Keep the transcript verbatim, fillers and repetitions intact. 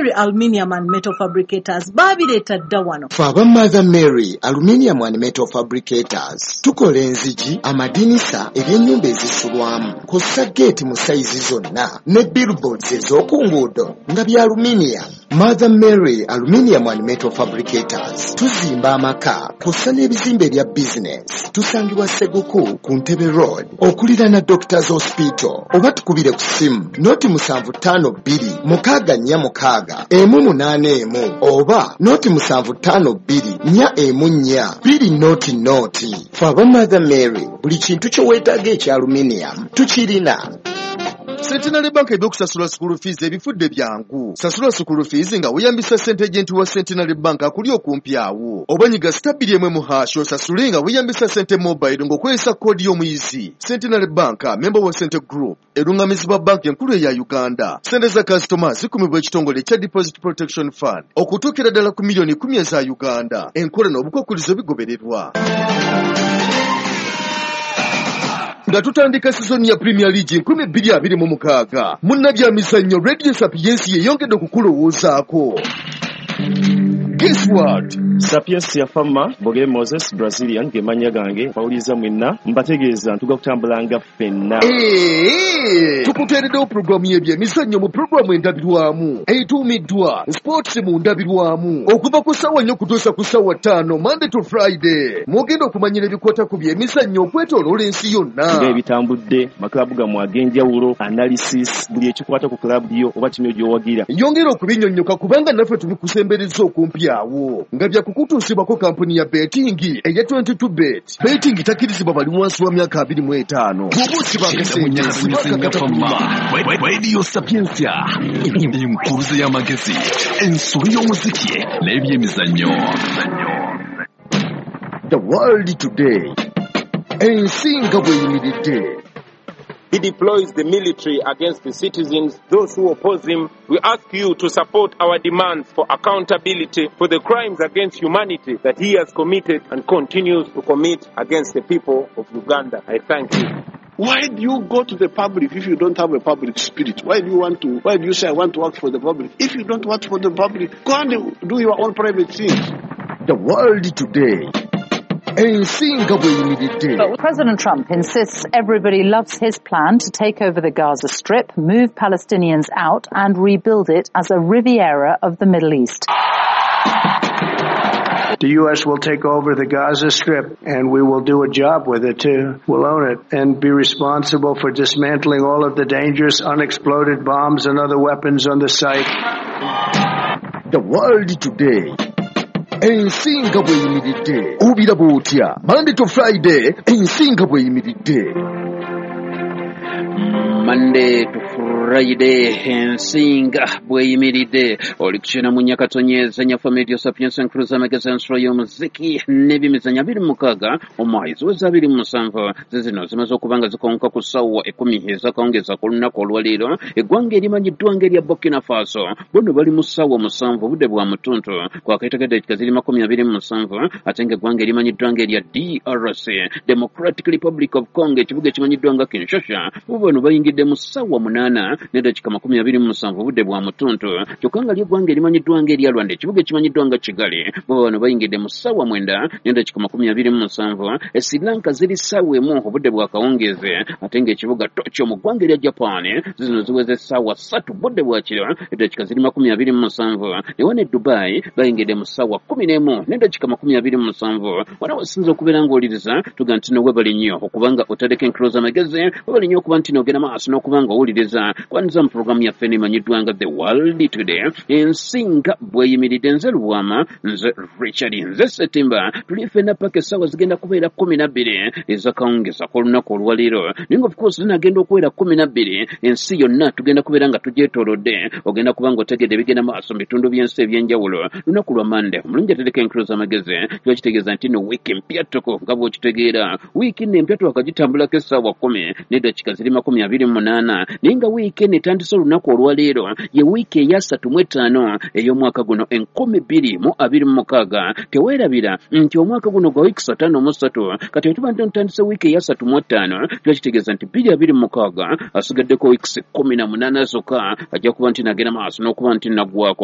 Mary Aluminium and Metal Fabricators baabireeta dda wano. Ffe aba Mother Mary Aluminium and Metal Fabricators tukola enzigi, amadinisa, ebyennyumba ezisulwamu, kw'ossa geeti mu sayizi zonna ne billboards ez'oku nguudo nga bya aluminium. Mother Mary Aluminium and Metal Fabricators tuzimba amaka kw'ossa n'ebizimbe ebya bizinesi. Tusangibwa Seguku ku Ntebe Road okuliraana Doctors Hospital, oba tukubire ku ssimu noti musanvu ttaano bbiri mukaaga nnya mukaaga emu munaana emu oba noti musanvu ttaano bbiri nnya emu nnya bbiri noti noti. Ffe aba Mother Mary buli kintu kye weetaaga ekya aluminium tukirina. Centenary Bank ebyokusasula school fees ebifudde byangu. Sasula school fees nga weeyambisa sente agent wa Centenary Bank akuli okumpi awo. Oba nyiga star bbiri emu mu hash osasule nga weeyambisa sente mobile ng'okozesa koodi y'omuyizi. Centenary Bank, member wa Sente Group, erungamizibwa banki enkulu eya Uganda. Sente za kasitoma zikumibwa ekitongole ekya Deposit Protection Fund okutuukira ddala ku miliyoni kumi eza Uganda. Enkola n'obukwakkulizo bigobererwa. Nga tutandika sizoni ya Premier League nkumi bbiri abiri mu mukaaga, munnabyamizannyo Radio Sapientia yeyongedde okukulowoozaako. Guess what? Sapientia Fama, Bogere Moses, Brazilian, ge mannya gange, bawuliza mwenna, mbategeeza ntuga kutambulanga ffenna. Eee! Tukuteereddewo pulogulaamu y'ebyemizannyo mu pulogulaamu endabirwamu etuumiddwa Sports mu ndabirwamu okuva ku ssaawa nnya okutuusa ku ssaawa ttaano, Monday to Friday. Mwogenda okumanyira ebikwata ku byemizannyo okwetooloola ensi yonna. Nga ebitambudde, makilaabu gammwe ag'enjawulo, analysis, buli ekikwata ku kilaabu yo oba ttiimu yo gy'owagira. Yongera okubinnyonnyoka kubanga naffe tubikusembereza okumpi awo nga bya kukutuusibwako kampuni ya betting eya twenty-two bet. Betting takkirizibwa bali wansi wa myaka abiri mu etaano. Bw'oba osibanga ssente, sibanga katakuluma. Radio Sapientia, enkuruze y'amagezi, ensolo y'omuziki n'ebyemizannyo. The World Today, ensi nga bw'eyimiridde. He deploys the military against the citizens, those who oppose him. We ask you to support our demands for accountability for the crimes against humanity that he has committed and continues to commit against the people of Uganda. I thank you. Why do you go to the public if you don't have a public spirit? Why do you want to, why do you say I want to work for the public? If you don't work for the public, go and do your own private things. The World Today. Ensi nga bw'eyimiridde. But President Trump insists everybody loves his plan to take over the Gaza Strip, move Palestinians out and rebuild it as a Riviera of the Middle East. The U S will take over the Gaza Strip and we will do a job with it too. We'll own it and be responsible for dismantling all of the dangerous unexploded bombs and other weapons on the site. The World Today. Ensi nga bw'eyimiridde. Obiraba otya? Monday to Friday, ensi nga bw'eyimiridde. Monday to Friday, ensi nga bw'eyimiridde. Oli kukyena mu Nyakatonyeza Nyafa Radio Sapientia Nkuruza amagezi ensolo y'omuziki n'ebyemizannyo abiri mu mukaaga omwayi ziweza abiri mu musanvu. Zizino zimaze okuba nga zikonka ku ssaawa ekkumi ez'akawungeezi ak'olunaku olwaleero. Eggwanga erimanyiddwa ng'erya Burkina Faso bono bali mu ssaawa musanvu obudde bwa mutuntu kwakaitako eddakiika ziri makumi abiri mu musanvu, ate ng'eggwanga erimanyiddwa ng'erya D R C, Democratic Republic of Congo, ekibuga ekimanyiddwa nga Kinshasa, bo bano bayingidde mu ssaawa munaana n'eddakiika makumi abiri mu musanvu obudde bwa mutuntu. Kyokka nga ly'eggwanga erimanyiddwa ng'erya Rwanda, ekibuga ekimanyiddwa nga Kigali, bo bano bayingidde mu ssaawa mwenda n'eddakiika makumi abiri mu musanvu. E Sri Lanka ziri ssaawa emu obudde bwa kawungeezi, ate ng'ekibuga Tokyo mu ggwanga erya Japan zino ziweze ssaawa ssatu budde bwa kiro eddakiika ziri makumi abiri mu musanvu. Ne wano e Dubai bayingidde mu ssaawa kkumi n'emu n'eddakiika makumi abiri mu musanvu. Wano wasinza okubeera ng'owuliriza tuga nti no webale nnyo okubanga otaddeko enkuluza amagezi, webale nnyo okuba nti n'ogenda maaso n'okuba nga owuliriza kwaniriza mu pulogulaamu yaffe emanyiddwa nga The World Today, ensi nga bw'eyimiridde. Nze Lubwama, nze Richard, nze Ssetimba, tuli ffenna paka essaawa zigenda kubeera kkumi na bbiri ez'akawungeezi ak'olunaku olwaleero. Naye nga of course zinagenda okuwera kkumi na bbiri, ensi yonna tugenda kubeera nga tugyetoolodde. Ogenda kuba ng'otegedde ebigenda maaso mu bitundu by'ensi eby'enjawulo. Lunaku lwa Mande, omulungi atereka enkuluza amagezi, kiba kitegeeza nti no wiiki mpya ttuku nga bw'okitegeera. Wiiki nno empya twakagitambulako essaawa kkumi n'eddakiika ziri makumi abiri mu munaana, naye nga wiiki eno etandise olunaku olwaleero ye wiiki eyasatu mu etaano ey'omwaka guno enkumi bbiri mu abiri mu mukaaga. Teweerabira nti omwaka guno gwa wiiki ttaano mu ssatu, kati bwe tuba nti tutandise wiiki eyasatu mu ttaano kiba kitegeeza nti bbiri abiri mu mukaaga asigaddeko wiiki kkumi na munaana zokka, ajja kuba nti nagenda maaso n'okuba nti naggwako.